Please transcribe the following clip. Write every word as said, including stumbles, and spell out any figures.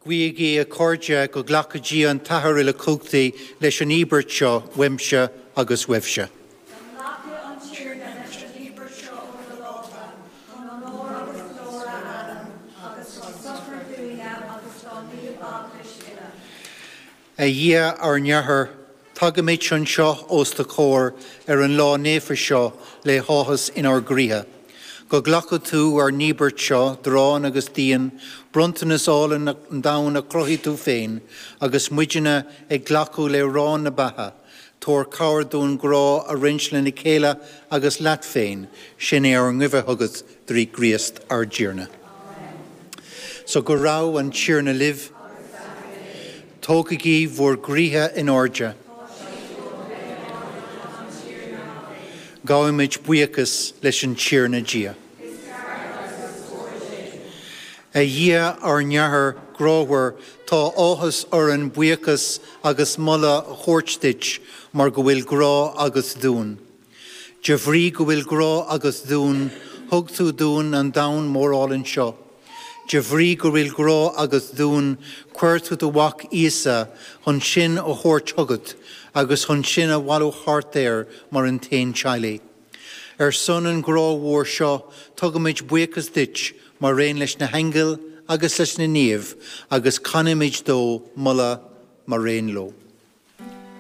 Guígí, a chairde, go nglaca Dia an tAthair uilechumhachtach leis an íobairt seo uaimse agus uaibhse. Go nglaca an Tiarna leis an íobairt seo ó do lámha, chun onóir agus glóir a ainm, agus dá sochar dúinne agus dá naomh-Eaglais uile. A Dhia ár nAthair, tagaimid anseo os do chomhair ar an lá naofa seo le háthas inár gcroíthe. Go nglaca tú ár n-íobairt seo, d'arán agus d'fhíon, bronntanas álainn an domhain a chruthaigh tú féin, agus muidne ag glacadh le arán na beatha, Tabhair cabhair dúinn grá a roinnt lena chéile agus leat féin, sin é ár nguí chugat trí Chríost ár dTiarna. So go raibh an Tiarna libh, Tógaigí bhur gcroíthe in airde. Gabhaimid buíochas leis an Tiarna Dia. A Dhia ár nAthair grámhar, tá áthas orainn buíochas agus moladh a thabhairt duit mar go bhfuil grá agat dúinn. De bhrí go bhfuil grá agat dúinn, thug tú dúinn an domhan mór álainn seo. De bhrí go bhfuil grá agat dúinn, chuir tú do mhac Íosa chun sinn a thabhairt chugat, agus chun sinn a bhailiú thart air mar an t-aon teaghlach. Ar son an ghrá mhór seo, tugaimid buíochas duit mar aon leis na haingil agus leis na naoimh, agus canaimid do mholadh mar aon leo.